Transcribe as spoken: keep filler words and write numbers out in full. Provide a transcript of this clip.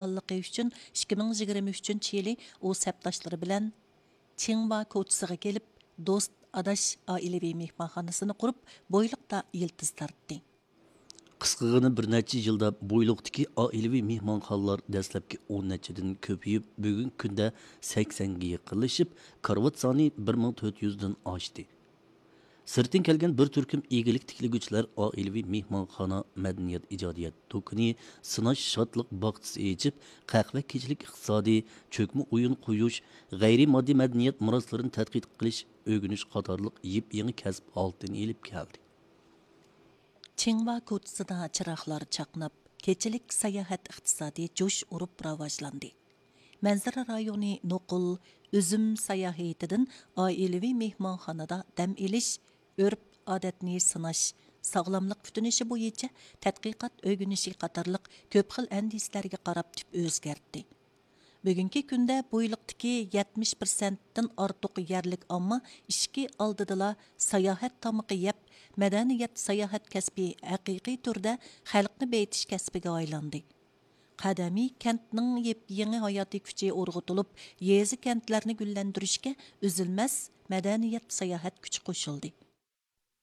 ئالغانلىقى ئۈچۈن ئىككى مىڭ يىگىرمە ئۈچىنچى يىلى ئۇ سەپداشلىرى بىلەن چىڭۋا كوچىسىغا كېلىپ، دوست ئاداش ئائىلىۋى مېھمانخانىسىنى قۇرۇپ، بويلۇقتا يىلتىز تارتتى. قىسقىغىنە بىر نەچچە يىلدا بويلۇقتىكى ئائىلىۋى مېھمانخانىلار دەسلەپكى ئون نەچچىدىن كۆپىيىپ، بۈگۈنكى كۈندە سەكسەنگە يېقىنلىشىپ، كارىۋات سانى بىر مىڭ تۆت يۈزدىن ئاشتى. سىرتتىن كەلگەن بىر تۈركۈم ئىگىلىك تىكلىگۈچىلەر ئائىلىۋى مېھمانخانا، مەدەنىيەت ئىجادىيەت دۇكىنى، سىناش شادلىق باغچىسى ئېچىپ، قەھۋە، كېچىلىك ئىقتىسادى، چۆكمە ئويۇن قويۇش، غەيرىي ماددىي مەدەنىيەت مىراسلىرىنى تەتقىق قىلىش، ئۆگىنىش قاتارلىق يېپيېڭى كەسىپ ھالىتىنى ئېلىپ كەلدى. چىڭۋا كوچىسىدا چىراغلار چاقناپ، كېچىلىك ساياھەت ئىقتىسادى جۇش ئۇرۇپ راۋاجلاندى. مەنزىرە رايونى نوقۇل ئۈزۈم ساياھىتىدىن ئائىلىۋى مېھمانخانىدا دەم ئېلىش، ئۆرپ-ئادەتنى سىناش، ساغلاملىق كۈتۈنۈشى بويىچە تەتقىقات ئۆگىنىشى قاتارلىق كۆپ خىل ئەندىزىلەرگە قاراپ تۈپ ئۆزگەرتتى. بۈگۈنكى كۈندە بويلۇقتىكى يەتمىش پىرسەنتتىن ئارتۇق يەرلىك ئامما ئىشىكى ئالدىدىلا ساياھەت تامىقى يەپ، مەدەنىيەت ساياھەت كەسپى ھەقىقىي تۈردە خەلقنى بېيىتىش كەسپىگە ئايلاندى. قەدىمىي كەنتنىڭ يېپيېڭى ھاياتىي كۈچى ئۇرغۇتۇلۇپ، يېزا، كەنتلەرنى گۈللەندۈرۈشكە ئۈزۈلمەس مەدەنىيەت، ساياھەت كۈچى قوشۇلدى.